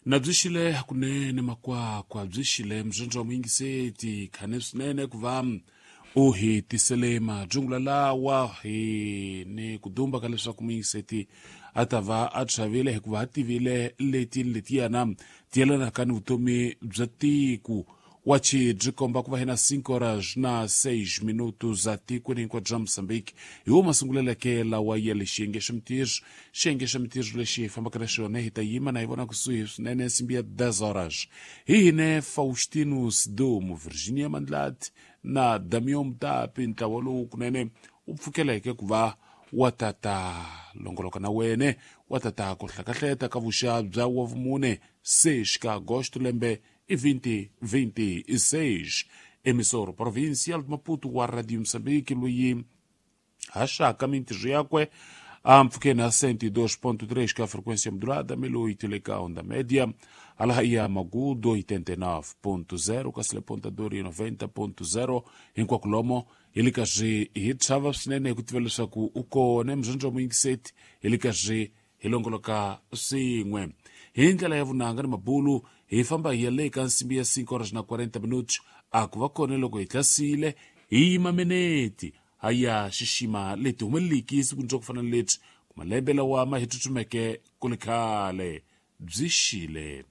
Na byi xile hakunene makwakwa byi xile mbyondzo wa muyingiseti khane swinene ku va u hi tisele majungula lawa hi ni ku dumba ka leswaku muyingiseti a ta va a chavile hikuva a tivile leti ni letiyana ti yelanaka ni vutomi bya tiko. Wachi byi komba ku va hina 5 horas na 6 minutos za tikweni hinkwabyo bya Mozambique. Hi wo masunguleleke lawa ya le xiyenge xa mintirho. Xiyenge xa mintirho lexi hi fambaka na xona hi ta yima na hi vona kusuhi swinene nsimbi ya 10 horas. Hi hine Faustino Sidumo, Virginia Mandlati na Damian Mutapi, ntlawa lowu kunene wu pfukeleke ku va wa tata longoloka na wene wa tata ku hlakahleta ka vuxa bya wa vumune 6 ka agosto lembe i 2026. Emissor provincial de Maputo wa Radio Moçambique loyi haxaka mintirho yakwe a mpfhukeni a 102.3 ka frequência modulada, 1008 le ka onda média, hala ya Magudo 89.0, kasi le Ponta Dori 90.0. Hinkwako lomo hi le karhi hi chava swinene hi ku tiva leswaku u kona mbyondzo wa muyingiseti, hi le karhi hi longoloka swin'we hi ndlela ya vunanga ni mabulu. Hi famba hi ya le ka nsimbi ya 5 horas na 40 minutos, a ku va kona loko hi tlasile hi yima meneti ha ya xixima leti humeleliki siku ndza ku fana ni lebyi ku malembe lawa ma hi tsutsumeke ku le khale. Byi xile.